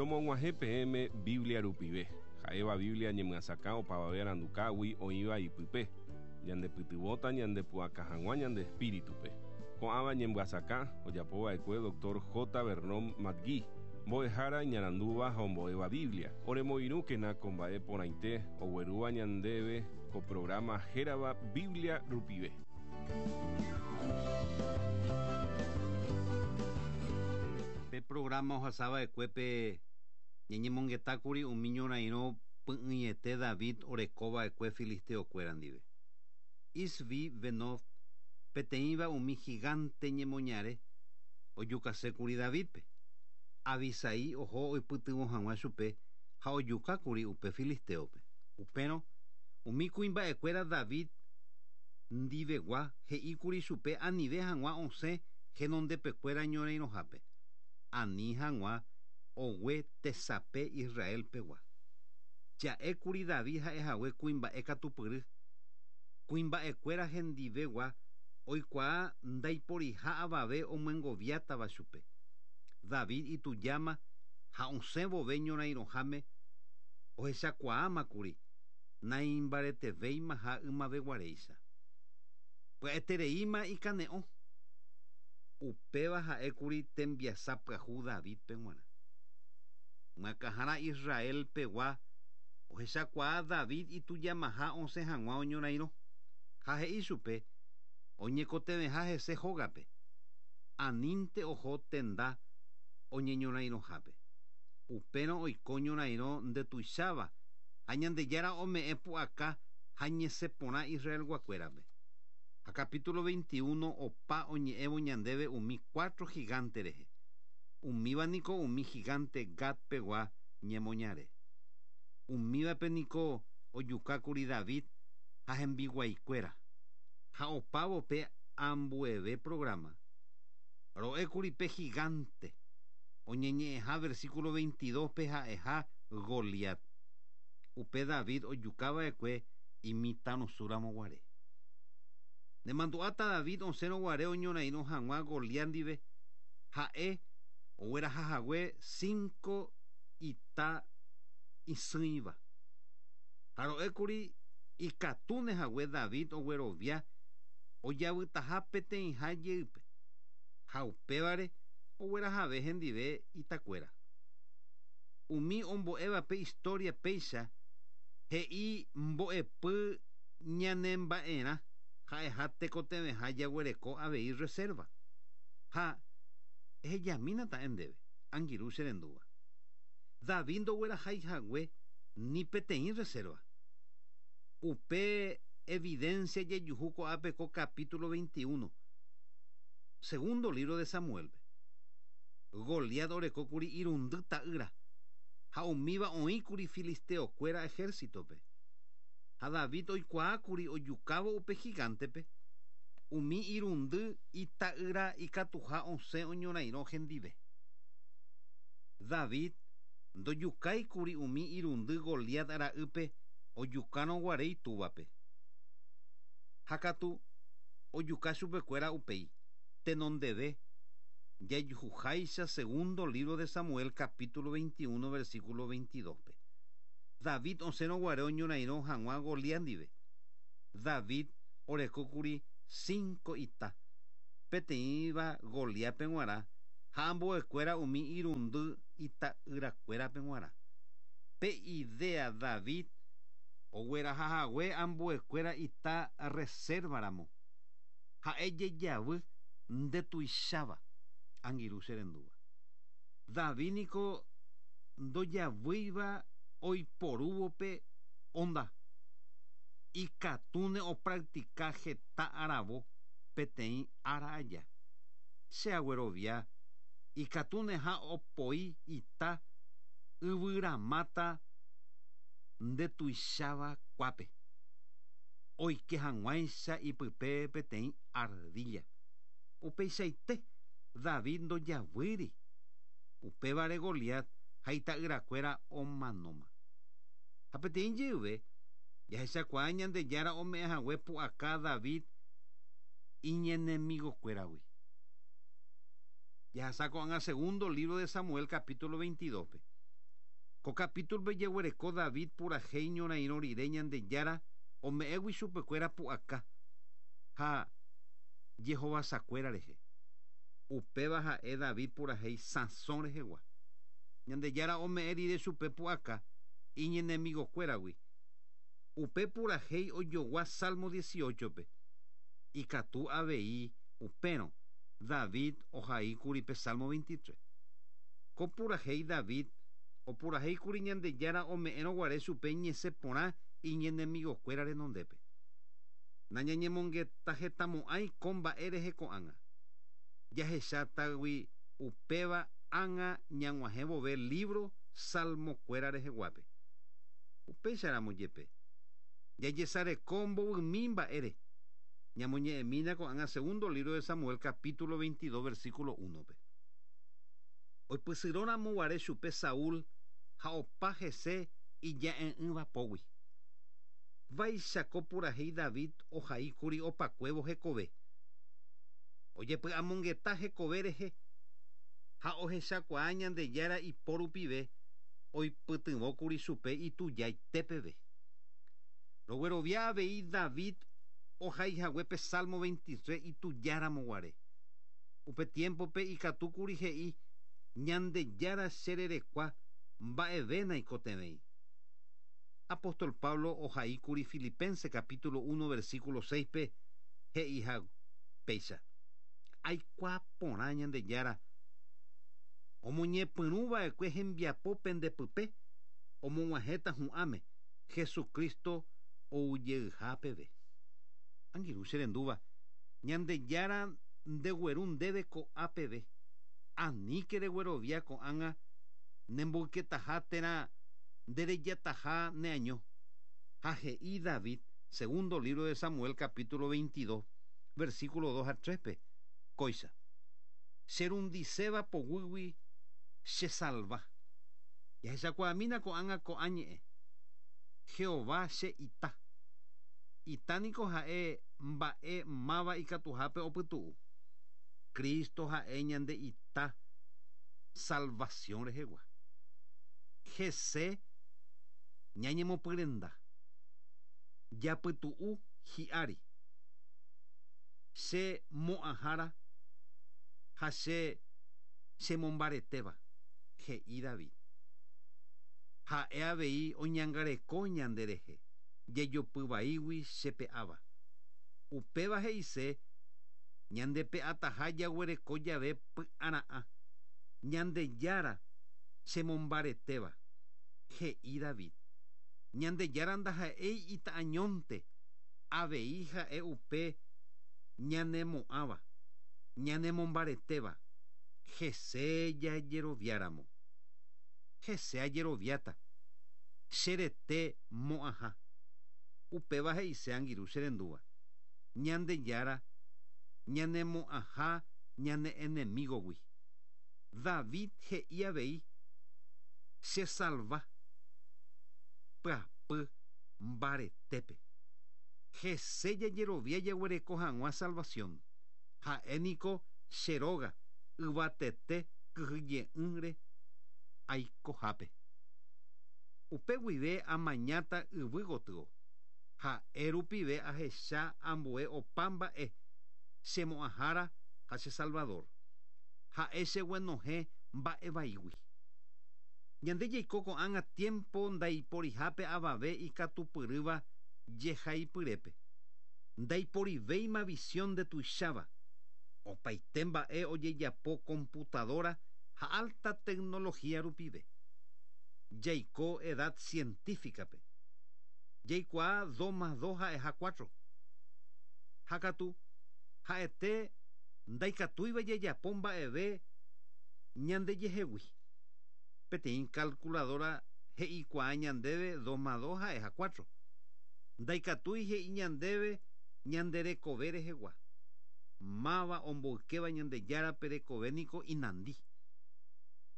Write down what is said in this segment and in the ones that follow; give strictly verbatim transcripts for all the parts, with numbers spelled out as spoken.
Romog̃uahẽ peẽme Biblia rupive, ha'éva Biblia ñemyasakã opavave arandukágui oĩva ipype, ñandepytyvõta ñandepu'aka hag̃ua ñande espíritupe. Ko'ãva ñemyasakã ojapova'ekue doctor J. Vernon McGee, mbo'ehára iñarandúva ha ombo'éva Biblia. Oremoirũkena ko mba'e porãite oguerúva ñandéve ko programa hérava Biblia rupive. Pe programa ohasava'ekuépe ñañemongetákuri umi ñorairõ py'ỹiete David orekova'ekue filisteokuéra ndive. Isbi Benob peteĩva umi gigante ñemoñare ojukasékuri Davidpe. Abisai oho oipytyvõ hag̃ua chupe ha ojukákuri upe filisteope. Upérõ umi kuimba'ekuéra David ndivegua he'íkuri chupe anive hag̃ua osẽ henondepekuéra ñorairõhápe. Ani hag̃ua ogue tesape Israelpegua. Ja'ékuri David ha'ehague kuimba'e katupyry. Kuimba'ekuéra hendivegua oikuaa ndaiporiha avave omyengoviátava chupe. David itujáma ha osẽvove ñorairõháme ohechakuaámakuri naimbaretevéima ha ymaveguaréicha. Pya'etereíma ikane'õ. Upéva ha'ékuri tembiasa pyahu Davidpe g̃uarã. Myakãhára Israelpegua ohechakuaa David itujamaha osẽ hag̃ua oñorairõ. Ha he'i chupe oñekotevẽha hese hógape. Anínte oho tenda oñeñorairõhápe. Upérõ oiko ñorairõ ndetuicháva ha Ñandejára ome'ẽ pu'aka ha ñesẽporã Israelguakuérape. Ha capítulo veintiuno opa oñe'ẽvo ñandéve umi cuatro gigante rehe. Umíva niko umi gigante Gatpegua ñemoñare. Umívape niko ojukákuri David ha hembiguaikuéra. Ha opávo pe ambueve programa. Ro'ékuri pe gigante oñeñe'ẽha versículo veintidós pe ha'eha Goliat. Upe David ojukava'ekue imitãrusúramoguare. Nemandu'áta David osẽroguare oñorairõ hag̃ua Goliat ndive ha'e oguerahahague cinco ita isỹiva. Ha ro'ékuri ikatúnehague David oguerovia ojavytaha peteĩha jeýpe. Ha upévare oguerahave hendive itakuéra. Umi ombo'évape historia péicha he'i mbo'epy ñanemba'erã ha'eha tekotevẽha jaguereko avei reserva. Ha ehejamínata ndéve angirũ cherendúva. David ndoguerahaihague ni peteĩ reserva. Upe evidencia jejuhu ko'ápe ko capítulo veintiuno, segundo libro de Samuelpe. Goliat orekókuri irundy ta'ýra ha umíva oĩkuri filisteokuéra ejércitope. Ha David oikuaákuri ojukávo upe gigantepe umi irundy ita'ýra ikatuha osẽ oñorairõ hendive. David ndojukáikuri umi irundy Goliat ra'ýpe ojukárõguare itúvape. Ha katu ojuka chupekuéra upéi tenondeve jajuhuháicha segundo libro de Samuel capítulo veintiuno versículo veintidós-pe. David osẽroguare oñorairõ hag̃ua Goliat ndive. David orekókuri cinco ita peteĩva Goliatpe g̃uarã ha ambuekuéra umi irundy ita'yrakuérape g̃uarã. Pe idea David oguerahahague ambuekuéra ita reservaramo ha'e jejavy ndetuicháva angirũ cherendúva. David niko ndojavýiva oiporúvope onda. Ikatúne opractica heta aravo peteĩ ára aja. Che aguerovia ikatúneha opoi ita yvyramáta ndetuicháva kuápe. Oike hag̃uáicha ipype peteĩ ardilla. Upeichaite David ndojavýri. Upévare Goliat ha ita'yrakuéra omanóma. Ha peteĩ jeyve jahechakuaa Ñandejára ome'ẽhague pu'aka David iñenemigokuéragui. Jahasa ko'ág̃a segundo libro de Samuel capítulo veintidós-pe. Ko capítulo jeguereko David purahéi ñorairõ rire Ñandejára ome'ẽgui chupekuéra pu'aka ha jehovasakuéra rehe. Upéva ha'e David purahéi sãso rehegua. Ñandejára ome'ẽ rire chupe pu'aka iñenemigokuéragui. Upe purahéi ojogua Salmo dieciocho-pe. Ikatu avei upérõ David ohaíkuri pe Salmo veintitrés. Ko purahéi David opurahéikuri Ñandejára ome'ẽrõ guare chupe ñesẽ porã iñenemigokuéra renondépe. Nañañemongetahetamo'ãi ko mba'e rehe ko'ág̃a. Jahechátagui upéva ág̃a ñag̃uahẽ vove libro Salmokuéra reheguápe. Upéicharamo jepe. Jajesareko mbovymi mba'ére. Ñamoñe'ẽmína ko'ág̃a segundo libro de Samuel capítulo veintidós versículo uno-pe. Oipysyrõramo guare chupe Saúl ha opa hese ija'e'ỹva pógui. Vaicháko purahéi David ohaíkuri opakuévo hekove. Ojepy'amongeta hekove rehe ha ohechakuaa Ñandejára ipo rupive oipytyvõkuri chupe itujaite peve. Roguerovia avei David ohaihaguépe Salmo veintitrés itujáramo guare. Upe tiempope ikatúkuri he'i Ñandejára chererekua mba'eve naikotevẽi. Apóstol Pablo ohaíkuri Filipenses capítulo uno versículo seis-pe he'iha péicha. Aikuaa porã Ñandejára omoñepyrũva'ekue hembiapo pendepype omog̃uahẽta hu'ãme Jesucristo oujeyha peve. Angirũ cherendúva Ñandejára ndegueru ndéve ko'a peve. Aníke reguerovia ko'ág̃a nemboyketaha térã nderejataha neaño. Ha he'i David, segundo libro de Samuel, capítulo veintidós, versículo dos a tres-pe, kóicha. Cherundiséva poguýgui chesalva. Jahechakuaamína ko'ág̃a ko'ã ñe'ẽ. Jehová che ita. Ita niko ha'e mba'e máva ikatuhápe opytu'u. Cristo ha'e ñande ita salvación rehegua. Hese ñañemopyrenda. Japytu'u hi'ári. Che mo'ãhára ha che chemombaretéva, he'i David. Ha'e avei oñangareko ñanderehe, jejopyvaígui chepe'áva. Upéva he'ise ñandepe'ataha jaguereko jave py'ara'ã. Ñandejára chemombaretéva, he'i David. Ñandejára ndaha'éi ita'añónte, avei ha'e upe ñanemo'ãva, ñanemombaretéva, hese jajeroviáramo. Hese ajeroviáta, cherete mo'ãha. Upéva he'ise angirũ cherendúva. Ñandejára ñanemo'ãha ñane enemigogui. David he'i avei chesalva pyapy mbaretépe. Hese jajerovia jaguereko hag̃ua salvación. Ha'e niko che róga yvatete kyhyje'ỹre aikohápe. Upe guive amañáta yvy gotyo. Ha'e rupive ahecha ambue opa mba'e chemo'ãhára ha che Salvador. Ha'e cheguenohẽ mba'evaígui. Ñande jaiko ko'ág̃a tiempo ndaiporihápe avave ikatupyrýva jehaipyrépe. Ndaiporivéima visión ndetuicháva. Opaite mba'e ojejapo computadora ha alta tecnología rupive. Jaiko edad científicape. Jaikuaa dos más dos ha'eha cuatro. Ha katu ha'ete ndaikatúiva jajapo mba'eve ñandejehegui. Peteĩ calculadora he'ikuaa ñandéve dos más dos ha'eha cuatro. Ndaikatúi he'i ñandéve ñande rekove rehegua. Máva omboykéva Ñandejárape rekove niko inandi.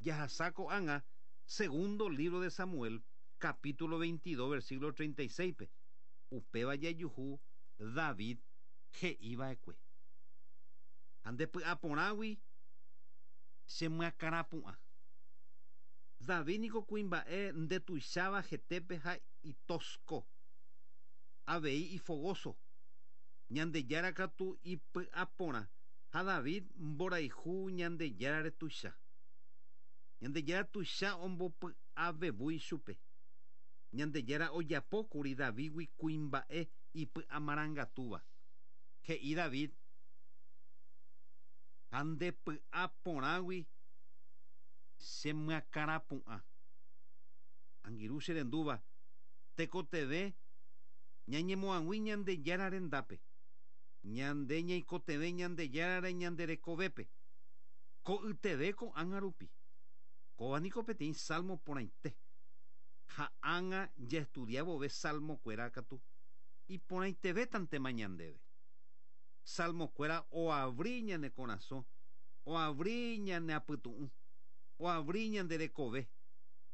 Jahasa ko'ág̃a segundo libro de Samuel, capítulo veintidós, versículo treinta y seis-pe. Upéva jajuhu David he'iva'ekue. Ha ndepy'aporãgui chemyakãrapu'ã. David niko kuimba'e ndetuicháva hetépe ha itosko. Avei ifogoso. Ñandejára katu ipy'aporã ha David mborayhu Ñandejárare tuicha. Ñandejára tuicha ombopy'avevúi chupe. Ñandejára ojapókuri Davidgui kuimba'e ipy'amarangatúva. He'i David ha ndepy'aporãgui chemyakãrapu'ã. Angirũ cherendúva tekotevẽ ñañemoag̃ui Ñandejára rendápe. Ñande ñaikotevẽ Ñandejárare ñande rekovépe. Ko'yteve ko'ág̃a rupi. Kóva niko peteĩ salmo porãite. Ha ág̃a jaestudiavove salmokuéra katu iporãitevétantema ñandéve. Salmokuéra oabri ñane korasõ, oabri ñane apytu'ũ, oabri ñande rekove,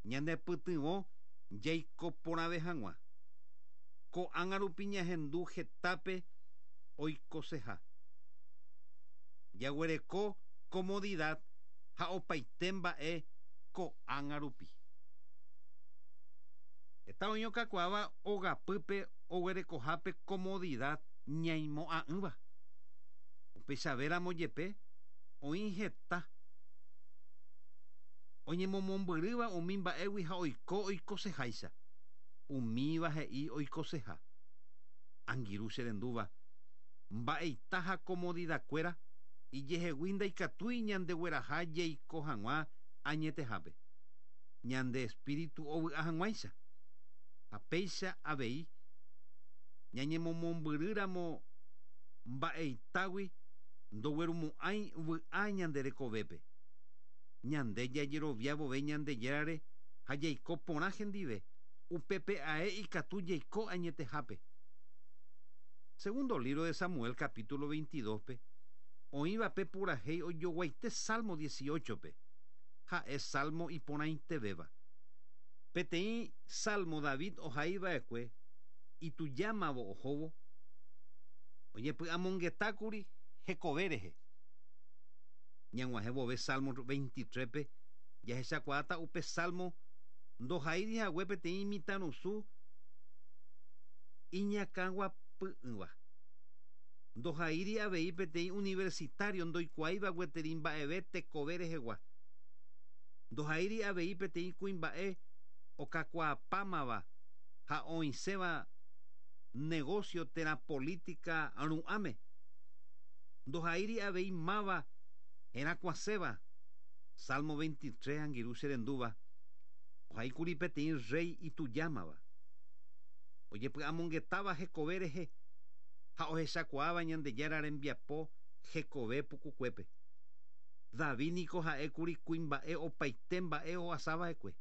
ñandepytyvõ jaiko porãve hag̃ua. Ko'ág̃a rupi ñahendu hetápe oikoseha. Jaguereko comodidad ha opaite mba'e ko'ág̃a rupi. Heta oĩ okakuaáva ogapýpe oguerekohápe comodidad ñaimo'ã'ỹva. Upechavéramo jepe oĩ heta oñemomombyrýva umi mba'égui ha oiko oikoseháicha. Umíva he'i oikoseha. Angirũ cherendúva mba'eita ha comodidadkuéra ijehegui ndaikatúi ñandegueraha jaiko hag̃ua añetehápe. Ñande espíritu ovy'a hag̃uáicha. Ha péicha avei ñañemomombyrýramo mba'eitágui ndoguerumo'ãi vy'a ñande rekovépe. Ñande jajeroviavove Ñandejárare ha jaiko porã hendive upépe ae ikatu jaiko añetehápe. Segundo libro de Samuel capítulo veintidós-pe oĩvape purahéi ojoguaite Salmo dieciocho-pe ha'e Salmo iporãitevéva. Peteĩ Salmo David ohaiva'ekue itujámavo ohóvo oñepy'amongetákuri hekove rehe. Ñag̃uahẽvove Salmo veintitrés-pe jahechakuaáta upe Salmo ndohaíri hague peteĩ mitãrusu iñakãguapy'ỹva. Ndohaíri avei peteĩ universitario ndoikuaáiva gueteri mba'eve tekove rehegua. Ndohaíri avei peteĩ kuimba'e okakuaapámava ha oĩséva negocio térã política ru'ãme. Ndohaíri avei máva herakuãséva. Salmo veintitrés angirũ cherendúva ohaíkuri peteĩ rey itujámava. Ojepy'amongetáva hekove rehe ha ohechakuaáva Ñandejára rembiapo hekove pukukuépe. David niko ha'ékuri kuimba'e opaite mba'e ohasava'ekue.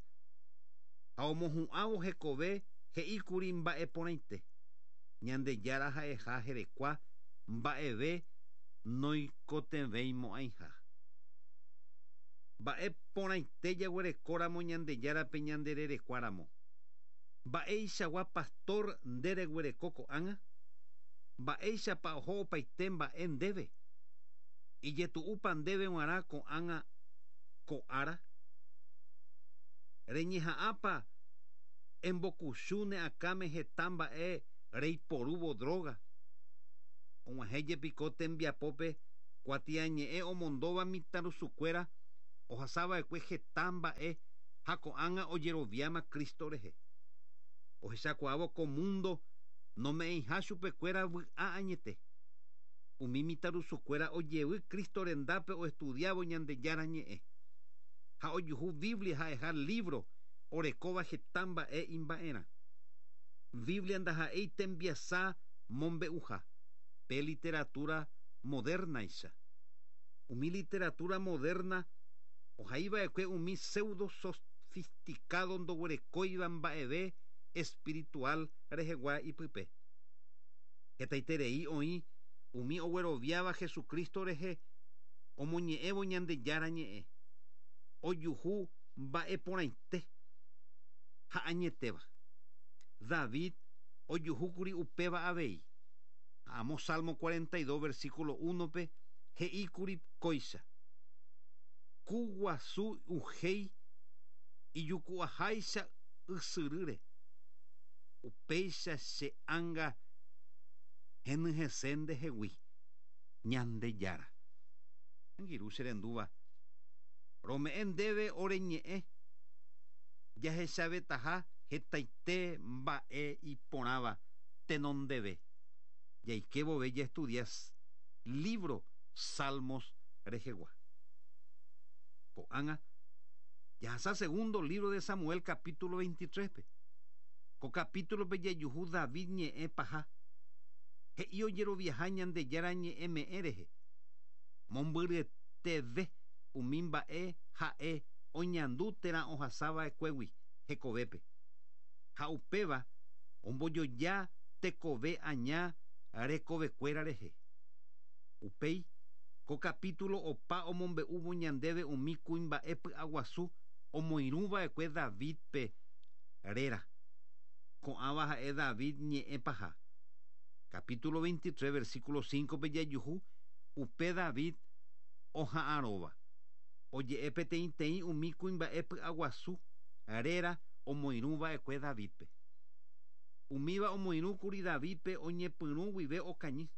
Ha omohu'ãvo hekove he'íkuri mba'e porãite. Ñandejára ha'eha herekua mba'eve noikotevẽimo'ãiha. Mba'e porãite jaguerekóramo Ñandejárape ñandererekuáramo. Mba'eichagua pastor ndereguereko ko'ág̃a? Mba'éichapa oho opaite mba'e ndéve? Ijetu'úpa ndéve g̃uarã ko'ág̃a ko'ára? Reñeha'ãpa embokuchu ne akãme heta mba'e reiporúvo droga? Og̃uahẽ jepiko tembiapópe kuatiañe'ẽ omondóva mitãrusukuéra ohasava'ekue heta mba'e ha ko'ág̃a ojeroviáma Cristo rehe. Ohechakuaávo ko mundo nome'ẽiha chupekuéra vy'a añete. Umi mitãrusukuéra ojevy Cristo rendápe oestudiávo Ñandejára ñe'ẽ. Ha ojuhu Biblia ha'eha libro orekóva heta mba'e imba'erã. Biblia ndaha'éi tembiasa mombe'uha pe literatura modernaicha. Umi literatura moderna ohaiva'ekue umi pseudo sofisticado ndoguerekóiva mba'eve espiritual rehegua ipype. Hetaiterei oĩ umi ogueroviáva Jesucristo rehe omoñe'ẽvo Ñandejára ñe'ẽ. Ojuhu mba'e porãite ha añetéva. David ojuhúkuri upéva avei. Amo Salmo cuarenta y dos versículo uno-pe he'íkuri kóicha. Ku guasu uhéi Ijuku'aháicha ysyrýre. Upéicha che ánga henyhẽse ndehegui. Ñandejára. Angirũ che rendúva. Rome'ẽ ndéve ore ñe'ẽ. Jahechavetaha hetaite mba'e iporãva tenondeve. Jaike vove jaestudia libro Salmos rehegua. Ko'ág̃a jahasa segundo libro de Samuel capítulo veintitrés-pe. Ko capítulo-pe jajuhu David ñe'ẽ paha. He'i ojeroviaha Ñandejára ñe'ẽme'ẽ rehe. Mombyryeteve umi mba'e ha'e oñandu térã ohasava'ekuégui hekovépe. Ha upéva ombojoja tekove aña rekovekuéra rehe. Upéi ko capítulo opa omombe'úvo ñandéve umi kuimba'e py'aguasu omoirũva'ekue David-pe réra. Ko'ãva ha'e David ñe'ẽ paha. Capítulo veintitrés, versículo cinco-pe jajuhu upe David oha'arõva. Oje'e peteĩteĩ umi kuimba'e py'aguasu réra omoirũva'ekue David-pe. Umíva omoirũkuri David-pe oñepyrũ guive okañy.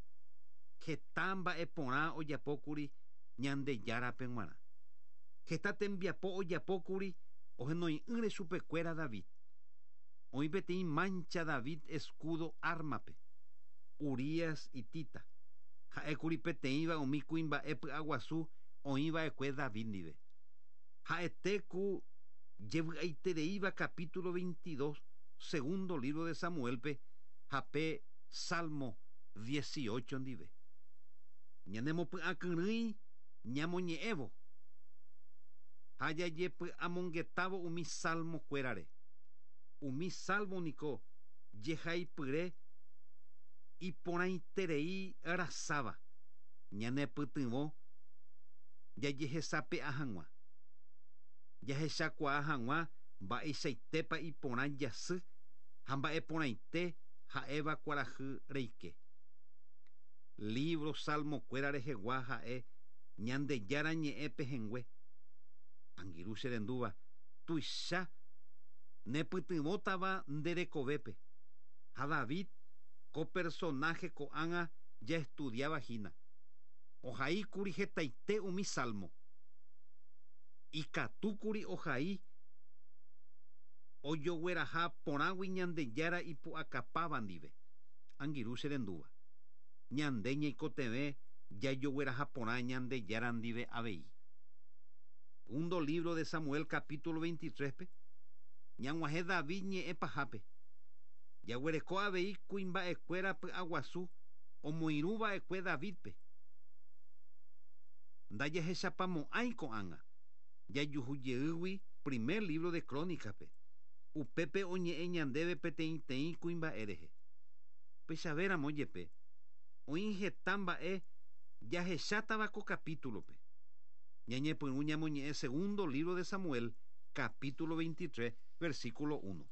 Heta mba'e porã ojapókuri Ñandejárape g̃uarã. Heta tembiapo ojapókuri ohenoi'ỹre chupekuéra David. Oĩ peteĩ mancha David escudo arma-pe. Urías hitita. Ha'ékuri peteĩva umi kuimba'e py'aguasu oĩva'ekue David ndive. Ha'ete ku jevy'aitereíva capítulo veintidós, segundo libro de Samuel-pe ha pe Salmo dieciocho ndive. Ñanemopy'akyrỹi ñamoñe'ẽvo ha jajepy'amongetávo umi salmo kuérare. Umi salmo niko jehaipyre iporãiterei rasáva ñanepytyvõ jajehesape'a hag̃ua. Jahechakuaa hag̃ua mba'eichaitépa iporã jasy ha mba'eporãite ha'éva kuarahy reike. Libro Salmo kuéra rehegua ha'e Ñandejára ñe'ẽ pehẽngue. Angirũ che rendúva tuicha nepytyvõtava nde rekovépe. Ha David ko personaje ko'ág̃a jaestudiava hína. Ohaíkuri hetaite umi salmo. Ikatúkuri ohai ojogueraha porãgui Ñandejára ipu'akapáva ndive. Angirũ che rendúva. Ñande ñaikotevẽ jajogueraha porã Ñandejára ndive avei. Segundo libro de Samuel capítulo veintitrés-pe ñag̃uahẽ David ñe'ẽ pahápe. Jaguereko avei kuimba'ekuéra py'aguasu omoirũva'ekue David-pe. Ndajahechapamo'ãi ko'ág̃a. Jajuhujeýgui primer libro de Crónicas-pe. Upépe oñe'ẽ ñandéve peteĩteĩ kuimba'e rehe. Upéichavéramo jepe oĩ heta mba'e jahechátava ko capítulo-pe. Ñañepyrũ ñamoñe'ẽ segundo libro de Samuel, capítulo veintitrés, versículo uno.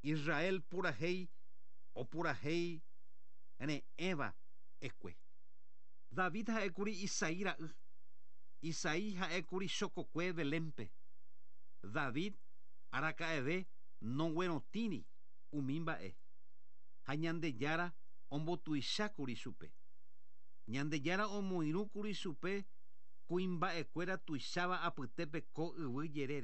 Israel purahéi opurahéi re'ẽva ekue. David ha'ékuri Isaí ra'y. Isaí ha'ékuri chokokue Belénpe. David araka'eve noguerotĩri umi mba'e. Ha Ñandejára ombotuichákuri chupe. Ñandejára omoirũkuri chupe kuimba'ekuéra tuicháva apytépe ko yvy jerére.